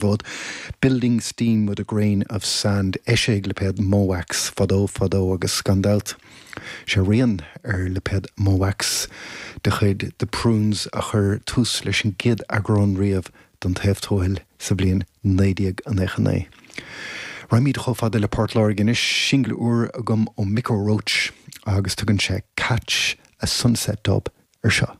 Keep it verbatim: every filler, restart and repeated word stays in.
bhfód. Building Steam with a Grain of Sand eisíodh lipéad Mo' Wax fadó fadó agus gan dabht. Sé rian ar lipéad Mo' Wax de chuid The Prunes a chuir tús leis an gcéad eagrán riamh den Taobh Tuathail sa bhliain naoi déag nócha naoi. Raghaimid chomh fada le Port Láirge anois singil úr agam ó Micko Roach agus tugann sé Catch a Sunset Dub ar seo.